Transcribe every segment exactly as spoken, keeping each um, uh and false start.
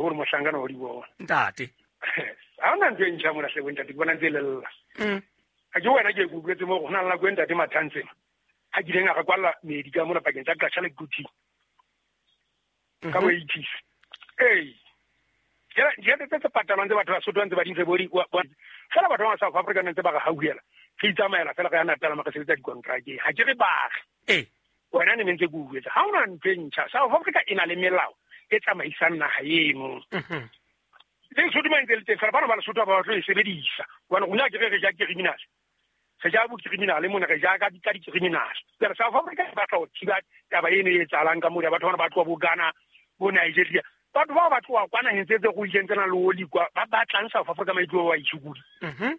Gore mohlankana wa di bona. Ntate. Ha hona ntho e ntjha mona hle bo ntate, ke bona ntse e lella. Mm. Ha ke wena ke e kutlwetse mo go na le nako e ntate Mathantseng. Ha kileng a re kwalla meedi ka mona pakeng tsa Qacha le Quthing. Ka bo eighties. Ee. Jwale tse tse patalwang tse batho ba Sotho ba ntse ba di ntse bo di fela batho ba South Africa ntse ba re hauhela. Re itsamaela fela re ya Natal ma re sebetsa dikontrake. Ha ke re baagi. Ee. Wena ne ntse ke utlwetse. Ha hona ntho e ntjha. South Africa e na le melao e tsamaisang naha eno. Mhm. Le Lesotho ba ntse le teng fela bana ba Lesotho ba batlo e sebedisa. Hobane rona ke re re ja criminal. Re ja bo criminal mona re ja ka di ka di criminal. Jwale South Africa e batla ho thiba taba eno e etsahalang ka mona batho bana ba tloha bo Ghana, bo Nigeria. Batho bao ba tloha kwa naheng tse tse ruileng tse nang le oli kwa ba batlang South Africa maitlo wa itshukudi. Mhm.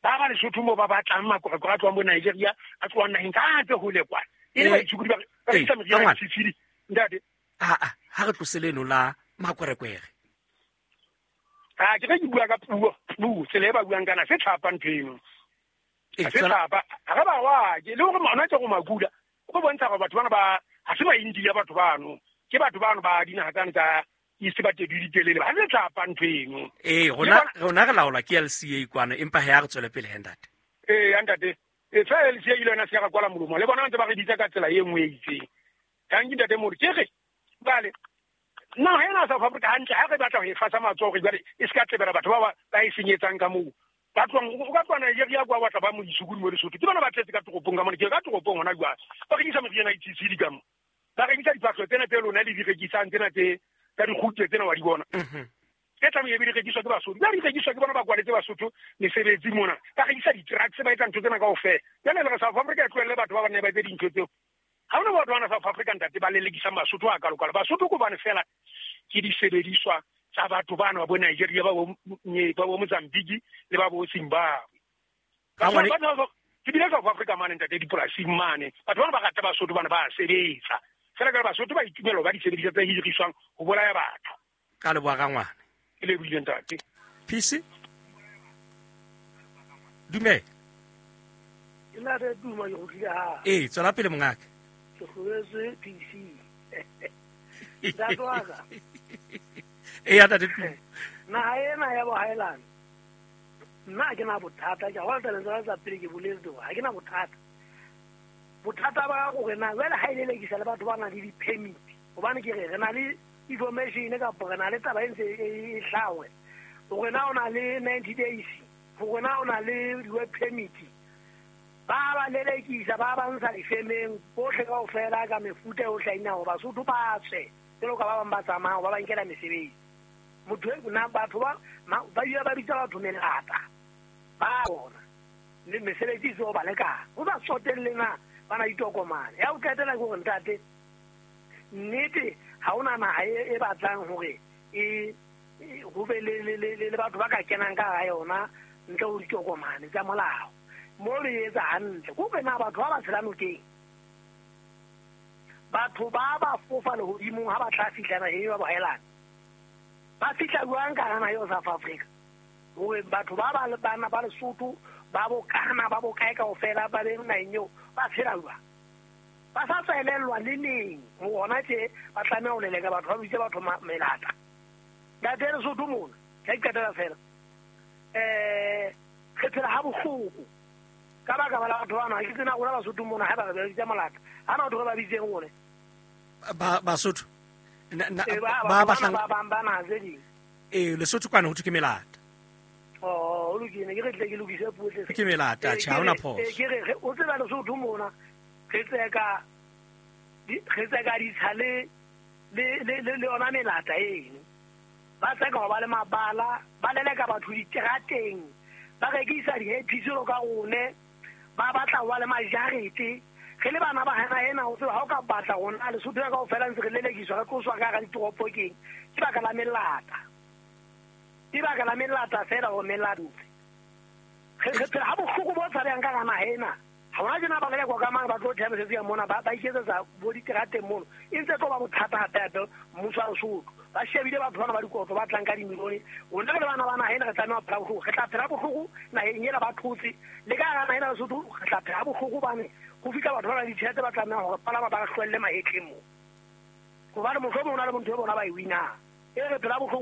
Ba ba Lesotho mo ba batlang makorekore a tlohang bo Nigeria a tlohang naheng tsa tse hole kwa. E le Eh, baitshukudi ba ba eh, rekisa meriana Rangwane. ya ntate. Ah ah, ha re tlose leno la makwerekwere. Ha ke re ke bua ka puo, puo tsela e ba buang kana se tlhapa ntho eno. Eh, Ha se tswela tlhapa. Ha re ba wa ke le hore mona tse go makula. Go bontsha gore batho bana ba ha se ba India batho bano. Ke batho bano ba dinaha tsane tsa East ba tedu ditelele. Ha se tlhapa ntho eno. Eh, Le rona bona rona re laolwa ke L C A kwana empa ha re tswele pele he ntate. Eh, ntate. E fa L C A ile yona se ka kwala molomo. Le bona ntse ba re bitsa ka tsela e nngwe e itseng. Tanki ntate Mori ke re bale naha ena South Africa hantle ha re batla ho e fasa matsoho hore jwale e se ka tlebela batho ba ba e senyetsang ka moo. Ba tlohang o ka tloha Nigeria kwa batla ba mo isukudi mo Lesotho. Ke bona ba tletse ka toropong ka mona, ke ka toropong hona jwale. Ba rekisa meriana e T C ka mo. Ba rekisa diphahlo tsena tse lona le di rekisang tsena tse tsa dikgutse tsena wa di bona. Mhm. Tse tlamehile be di rekiswa ke Basotho. Ba di rekiswa ke bona ba kwaletse Basotho mesebetsi mona. Ba rekisa di-drugs ba etsa ntho tsena kaofela. Jwale le re South Africa e tlohelle batho ba ba ne ba etse dintho tseo. Ha hona batho bana South Africa ntate ba lelekisang Basotho a kalokalo. Basotho ke hobane fela ke disebediswa tsa batho bana ba bo Nigeria ba bo ba bo Mozambique le ba bo Zimbabwe. Rangwane Batho ba ke bile South Africa mane ntate dipolasing mane. Batho bana ba rata Basotho bana ba sebetsa. Fela ka Basotho ba itumela ba disebediswa tse hiriswang ho bolaya batho. Ka leboha Rangwane. Ke lebohile ntate. P C. Dumela. Ke na re duma ke go tlile ha. Eh, tswela pele mongaka. Ke hloletswe P C. Ntate wa ka. Eh, ya ntate Tumo. Naha ena ya bohaelane. Nna ha ke na bothata, ke a bona tabeng tsa pele ke boletse hore ha ke na bothata. Bothata ba hore na jwale ha e lelekisa le batho ba nang le di-permit. Hobane ke re re na le information kapa re na le taba e ntse e hlaha hore hore na o na le ninety days, hore na o na le di-work permit. Ba ba lelekisa ba ba ntsha difemeng bohle kaofela ka mefuta yohle ya dinao Basotho ba tswe jwalo ka ba bang ba tsamayang ba ba nkela mesebetsi. Motho e na batho ba ba ile ba bitsa batho melata ba bona le mesebetsi e ba lekana ho sa tsotelle na ba na ditokomane. Ya ho qetela ke hore ntate nnete ha hona naha e batlang hore e ho be le le le batho ba ka kenang ka hara yona ntle ho ditokomane tsa molao. Mo le etsa hantle ko na batho ba ba tshela nokeng batho ba ba fofa lehodimong ha ba tla fihla naheng ya bohaelane ba fihla jwang ka hara naha eo South Africa hore batho ba ba bana ba Lesotho ba bo Ghana ba bo kae kaofela ba be naheng eo ba tshela jwang ba sa tswelellwa le neng hona tje ba tlameha ho leleka batho ba bitse batho melata. Ntate Lesotho mona ke qetela fela eh re phela ha bohloko ka baka la batho bana ha ke tsena rona Basotho mona ha ba re bitsa molata ha na batho ba ba bitseng rone Ba Basotho. Na ba ba batlang ba bang ba naha tse ding. Eh, Lesotho kwana ho thwe ke melata. Oh, o lokile ke re tle ke lokise puo tle. Ke melata, tjhe, ha hona phoso. Ke re o tseba Lesotho mona re tseka re tseka ditsha le le le le yona melata eno. Ba tseka ho ba le mabala, ba leleka batho diterateng, ba rekisa di-happy ka rone, ba batla ho ba le majarete. Re le bana ba hana ena o tseba ha o ka batla rona Lesotho ya kaofela ntse re lelekiswa re tloswa ka hara ditoropo keng ke baka la melata. Ke baka la melata fela hore melata. Re re phela ha bohloko bo tshabehang ka hara naha ena. Ha hona tjena ba lelekwa ka mang ba tlo theha mesebetsi ya mona ba ba iketsetsa bo diterateng mono. E ntse tlo ba bothata hape hape mmuso wa Lesotho. Ba shebile batho bana ba dikotlo ba tlang ka dimilione. Rona re le bana ba naha ena re tlameha ho phela bohloko. Re tla phela bohloko naheng ena ba thotse. Le ka hara naha ena Lesotho re tla phela bohloko hobane ho fihla batho ba na le ditjhelete ba tlameha hore palama ba re hlwelle mahetleng moo. Hobane mohlomong ho na le motho e bona ba e winang. E re phela bohloko.